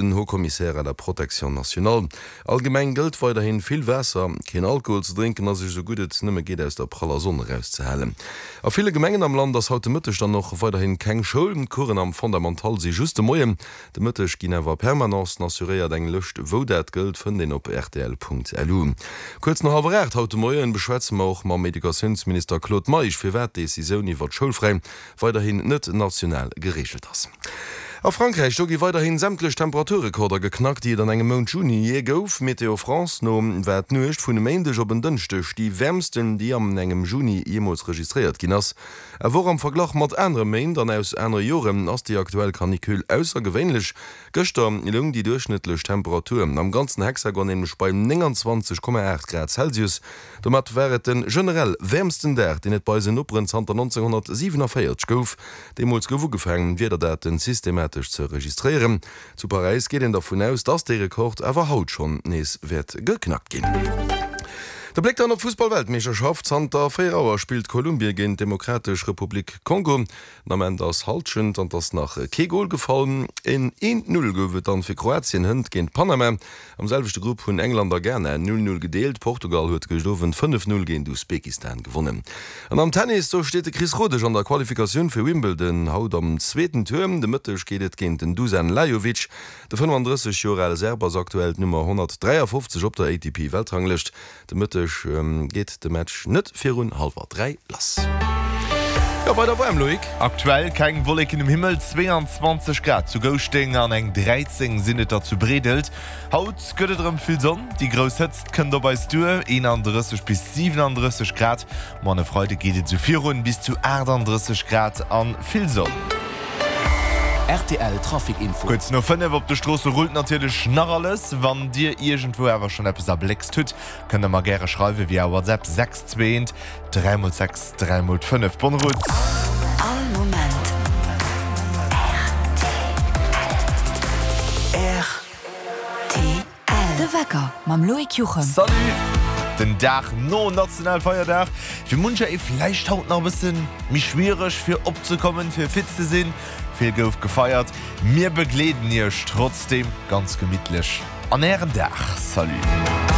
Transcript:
Den Haut-Commissaire à la protection nationale. Allgemeng gëllt weiderhin, vill Waasser, keen Alkohol ze drénken a sech esou gutt et nëmme geet aus der praller Sonn erauszehalen. A ville Gemengen am Land ass haut de Mëtteg dann och weiderhin keng Schoul. D'Coursen am Fondamental si just de Moien. De Mëtteg ginn awer Permanencen assuréiert. Eng Lëscht wou dat gëllt fënnt een op rtl.lu. Kuerz no hallwer 8 haut de Moien beschwätze mer och mam Educatiounsminister Claude Meisch firwat d'Decisioun iwwer d'Schoulfräi weiderhin net national gereegelt ass. A Frankräich, do gi weiderhin sämtlech Temperaturrekorder geknackt, déi et an engem Mount Juni jee gouf. Météo France no war d'Nuecht vun e Méindeg op en Dënschdeg déi wäermsten, déi an engem Juni jeemools registréiert ginn ass. Awer och am Verglach mat anere Méint an aus anere Joren ass déi aktuell Canicule aussergewéinlech. Gëschter loung déi duerchschnëttlech Temperatur am ganzen Hexagon nämlech bei 29,8 Grad Celsius. Domat war et de generell wäermsten Dag, deen et bei eisen Noperen zanter 1947 gouf. Deemools gouf ugefaangen, d'Wiederdaten systematesch ze registréieren. Zu Paräis geet een dervun aus, dass dee Rekord awer haut schonn nees wäert geknackt ginn. De Bléck dann op d'Fussballweltmeeschterschaft, Zanter 4 Auer spillt Kolumbien géint d'Demokratesch Republik Kongo. Den Ament ass Hallschent an 't ass nach kee Gol gefall. En 1, 0 gouf et dann fir Kroatien hënt géint Panama. Am selwechte Grupp hunn England a Ghana 0, 0 gedeelt. Portugal huet gëscht Owend 5, 0 géint Usbekistan gewonnen. An am Tennis, do steet de Chris Rodesch an der Qualifikatioun fir Wimbledon haut am zweeten Tour. De Mëtteg geet et géint den Dusan Lajovic. De 35 Joer ale Serb ass aktuell d'Nummer 153 op der ATP-Weltranglëscht. De Mëtteg geet de Match net virun hallwer 3 lass. Jo, weider waarm, Loïc. Aktuell keng Wolleken um Himmel, 22 Grad zu Gouschteng an eng 13 sinn et der zu Breedelt. Haut gëtt et erëm vill Sonn, déi grouss Hëtzt kënnt op eis duer, 31 bis 37 Grad. Ma an e Freide geet et esou virun, bis zu 38 Grad an vill Sonn. Rtl Trafic Info. Kuerz no 5 op de Stroosse rullt natierlech nach alles. Wann dir iergendwou awer schonn eppes erbléckst hutt, kënnt der mer gäre schreiwe via WhatsApp 6 2 1 3 x 6 3 x 5. Bonne route! All Moment rtl. De Wecker mam Loïc Juchem. Salut! Den Dag no Nationalfeierdag, fir muncher ee vläicht haut nach e bësse méi schwiereg fir opzekommen, fir fit ze sinn. Vill gouf gefeiert. Mir begleeden iech trotzdeem ganz gemittlech an ären Dag. Salut!